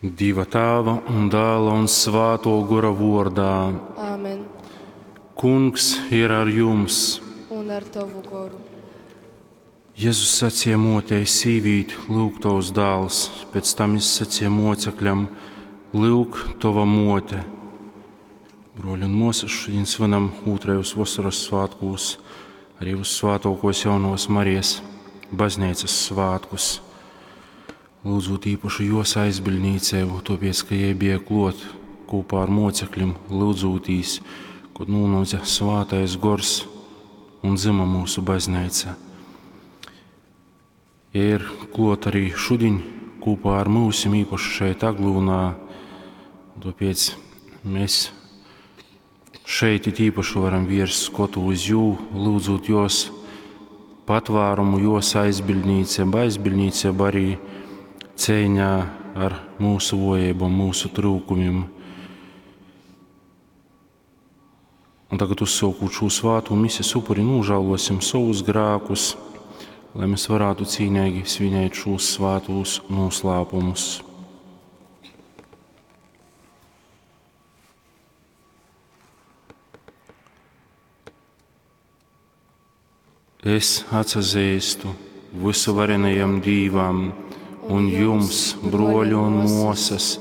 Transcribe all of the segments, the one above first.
Dieva Tāva un Dēla un Svāto Gora vordā. Āmen. Kungs ir ar jums. Un ar tavu goru. Jēzus sacīja motei, sīvīt, lūk tavs dēls, pēc tam viņš sacīja mocekļam, lūk tava mote. Broļi un mosas, šodien svinam otrajos vasaras svētkos, arī uz svētokos jaunos Marijas baznīcas svētkus. Lūdzot īpašu jos aizbildnīcēvu, tāpēc, ka jai bija klot kopā ar mocekļiem, lūdzotīs, kad nonāca svātais gors un dzima mūsu baznīca. Ja ir klot arī šodien kopā ar mūsim, īpaši šeit Aglūnā, tāpēc mēs šeit it īpaši varam vērst skotu uz jū, lūdzot jos patvērumu, jos aizbildnīcību, aizbildnīcību arī cīņā ar mūsu vojībām, mūsu trūkumiem. Un tagad uzsākot šo svātu mises upuri, nožēlosim savus grēkus, lai mēs varētu cīnīgi svinēt šos svātos noslēpumus. Es atsazīstu visuvarenajam Dīvam un jums, broļi un mosas,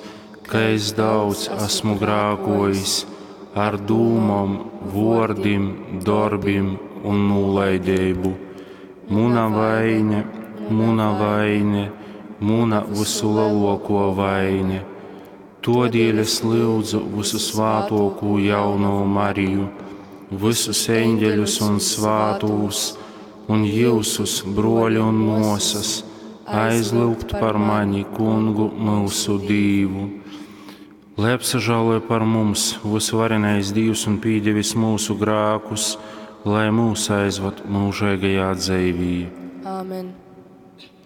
ka es daudz esmu grākojis ar dūmom, vordim, darbim un nolaidību. Muna vaine, muna vaine, muna visu lielāko vaine. Todēļ es lūdzu visu svātoko jauno Mariju, visus eņģeļus un svātūs, un jūsus, broļi un mosas, aizlūgt par mani, kungu mūsu Dīvu. Lai apsažāloja par mums visvarenais Dievs un pīdevis mūsu grākus, lai mūs aizvad mūžīgajā dzīvī. Āmen.